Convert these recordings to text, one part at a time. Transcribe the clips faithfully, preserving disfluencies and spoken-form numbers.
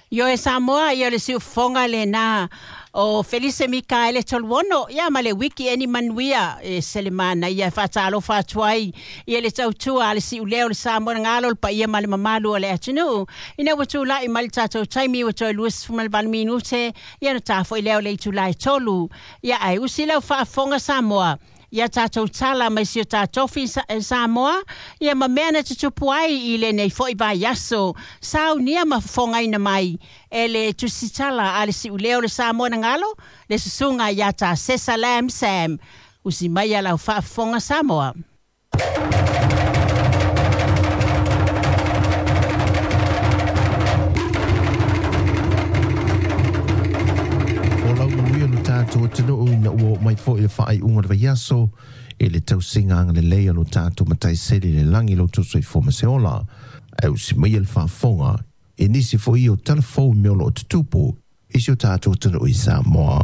Io e Samoa, ia le siufofoga lena o Felise Mikaele Toluono, ia ma le wiki eni manuia e selemana ia faatalofa atu ai ia le tautua a le siuleo o le Samoa na galo le paia ma le mamalu o le atunuu. Ina ua tulai mai le tatou taimi ua toe lua sefulu ma le valu minute, ia na tafo'i lea o le itulā e tolu. Ia ae usi lau faafofoga Samoa, ia tatou tala mai si o tatofi Samoa, ia ma mea na tutupu ai i lenei fo'i vaiaso, saunia ma fofogaina mai e le tusitala a le siuleo o le Samoa na galo, le susuga ia ta Sesa Lam Sam. Usi mai ia lau faafofoga Samoa. Folau manuia lo tatou atunuu ina ua oo mai foi le faaiuga o le vaiaso i le tausiga agalelei a lo tatou Matai Sili i le lagi lo outou soifua ma se ola. Ae usi maia le faafofoga i nisi foi o tala fou i mea o loo tutupu i si o tatou atunuu i Samoa.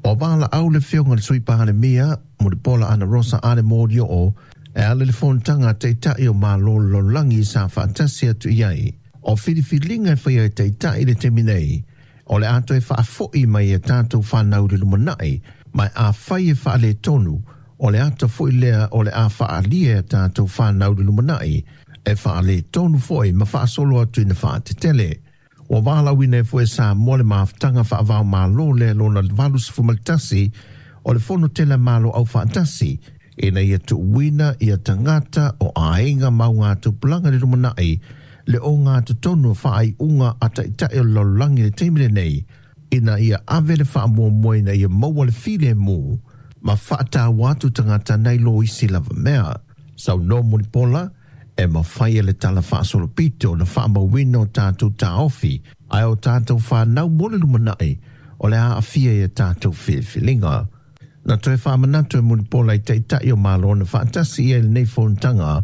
O valaau le afioga i le Sui Palemia Mulipola Anarosa Ale Molioo e ala i le fonotaga a Taitai o Malo o le Lalolagi sa faatasi atu i ai. O filifiliga e faia e Taitai i le taimi nei, o le a toe faafo'i mai e tatou fanau i le lumanai, ma afai e faaletonu, o le ata foi lea o le a faaalia e tatou fanau i le lumanai, e faaletonu foi ma faasolo atu ina faatetele. Ua valaauina ai foi e Samoa le mafutaga faavaomalo lea lona valu sefulu ma le tasi o le Fono Tele a Malo Aufaatasi, ina ia tuuina ia tagata o aiga ma augatupulaga i le lumanai le ogatotonu o faaiuga a Taitai o le lalolagi i le taimi lenei, ina ia ave le faamuamua ina ia maua le filemu ma faataua atu tagata nai lo isi lava mea. Saunoa Mulipola e mafai e le tala faasolopito ona faamauina o tatou taofi ae o tatou fanau mo le lumanai o le a aafia i a tatou filifiliga. Na toe faamanatu e Mulipola i Taitai o Malo na faatasi i ai i lenei fonotaga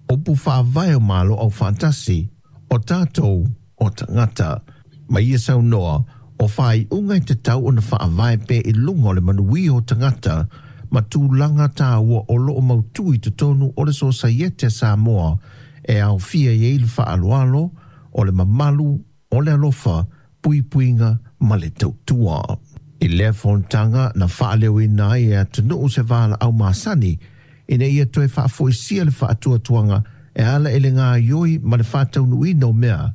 upu faavae o Malo Aufaatasi o tatou o tagata. Ma ia saunoa o faaiuga e tatau ona faavae pea i luga o le manuia o tagata ma tulaga taua o loo mautū i totonu o le Sosaiete a Samoa e aofia i ai le faaaloalo, o le mamalu, o le alofa, puipuiga ma le tautua. I lea fonotaga na faaleoina ai e atunuu se valaau masani ina ia toe faafoisia le faatuatuaga e ala i le gaoioi ma le faataunuuina o mea,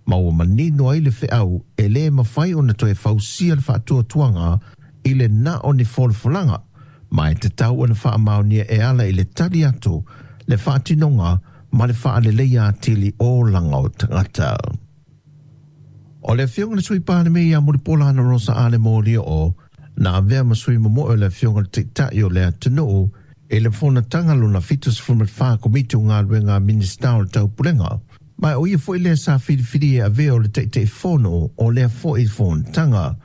ma ua manino ai le feau e lē mafai ona toe fausia le faatuatuaga i le na o ni folafolaga, ma e tatau ona faamaonia e ala i le tali atu, le faatinoga ma le faaleleia atili o olaga o tagata. O le afioga i le Sui Palemia ia Mulipola Anarosa Ale Molioo na avea ma sui momoe o le afioga i le Taitai o le atunuu i le fonotaga lona fitu sefulu ma le fa Komiti o Galuega a Minisita o le Taupulega. Ma o ia foi lea sa filifili e avea o le Taitaifono o lea foi fonotaga.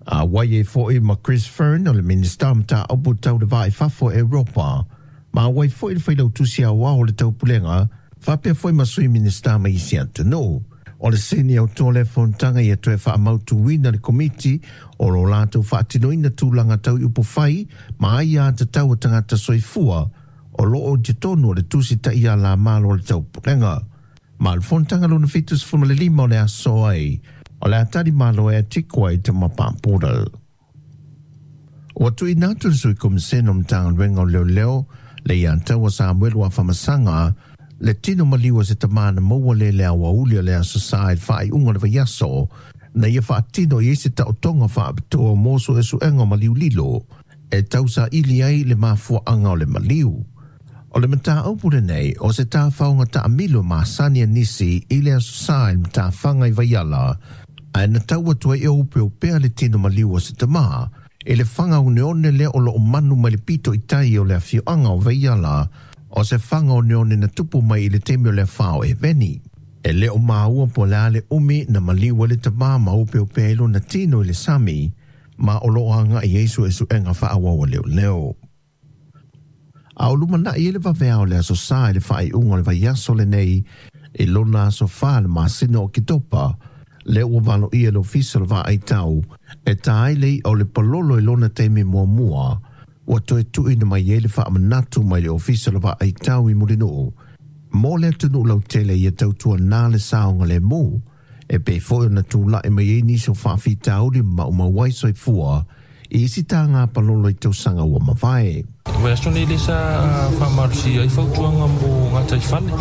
A wai e foi ma Chris Fearne o le Minista o Mataupu Tau le Va i Fafo e Europa. Ma wai foi le Failautusi Aoao o le Taupulega, faapea foi ma Sui Minista ma isi atunuu. O le sini autū o lea fonotaga ia toe faamautuina le komiti o lo latou faatinoina tulaga tau i upufai ma aiatatau a tagata soifua o loo i totonu o le Tusi Taiala a Malo o le Taupulega. Ma o le fonotaga lona fitu sefulu ma le lima o le aso ai, o le a tali malo ai a Tikoa i Tamapā Porter. Ua tuuina atu le Sui Komisena o Matagaluega o Leoleo le ia Taua Samuelu Afamasaga le tino maliu o se tamā na maua lē le aoauli o le Aso Sa i le faaiuga o le vaiaso na ia faatino i ai se taotoga faapitoa mo suesuega o maliu lilo e tausaili ai le mafuaaga o le maliu. O le mataupu lenei o se tafaoga taamilo masani a nisi i le Aso Sa i le matafaga i Vaiala, ae na tau atu ai e opeopea le tino maliu o se tamā i le faga oneone lea o loo manu mai le pito i tai o le afioaga o Vaiala, o se faga oneone na tupu mai i le taimi o le afa o Eveni. E le o maua po o le a le umi na maliu ai le tamā ma opeopea ai lona tino i le sami, ma o loo agai ai suesuega faaauau a leoleo. A o lumanai ai le vaveao o le Aso Sa i le faaiuga o le vaiaso lenei i lona aso fa le masina o Oketopa, lea ua valoia e le Ofisa o le Vaaitau e tā ai le i'a o le palolo i lona taimi muamua, ua toe tuuina mai ai le faamanatu mai le Ofisa o le Vaaitau i Mulinuu mo le atunuu lautele ia tautuanā le saogalemu E pei foi ona tula'i mai ai nisi o faafitauli ma maumau ai soifua i isi taga palolo i tausaga ua mavae. Vaiaso nei lea sa faamalosia ai fautuaga mo gataifale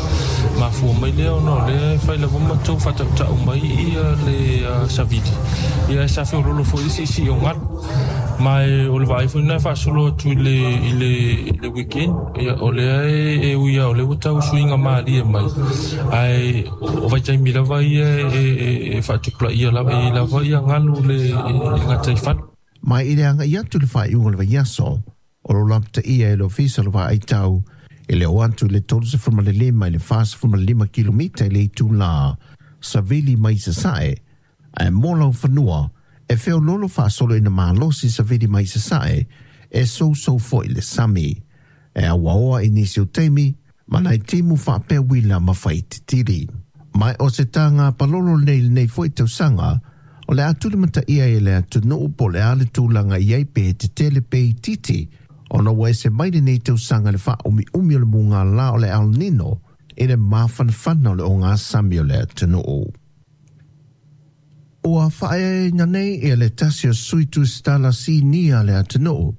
mafua mai lea ona o lea e fai lava matou faatautau mai ia le savili ia e sa feololo foi le siisii o galu ma e o le vaai foi lena e faasolo atu i le i le i le weekend ia o lea e ui lava o lea ua tau suiga malie mai ae o vaitaimi lava ia e e faatupulaia lava e lava ia galu le i gataifale. Ma i le agaʻi atu i le faaiuga o le vaiaso, o lo lapataia e le Ofisa o le Vaai Tau e le oo atu i le tolu sefulu ma le lima i le fa sefulu ma le lima kilomita i le itulā savili mai sasae, ae mo laufanua e feololo faasolo ina malosi savili mai sasae e sousou foi le sami. E auaoa i nisi o taimi, ma nai timu faapea uila ma faititili. Ma o se taga palolo nei lenei foi tausaga, o le a tulimataia e le atunuu po o le a le tulaga i ai pe tetele pe itiiti, ona ua ese mai lenei tausaga le faaumiumi o le mugālā o le El Nino i le mafanafana o le ogasami o le atunuu. Ua faaeaina nei e le tasi o sui tusitala sinia le atunuu.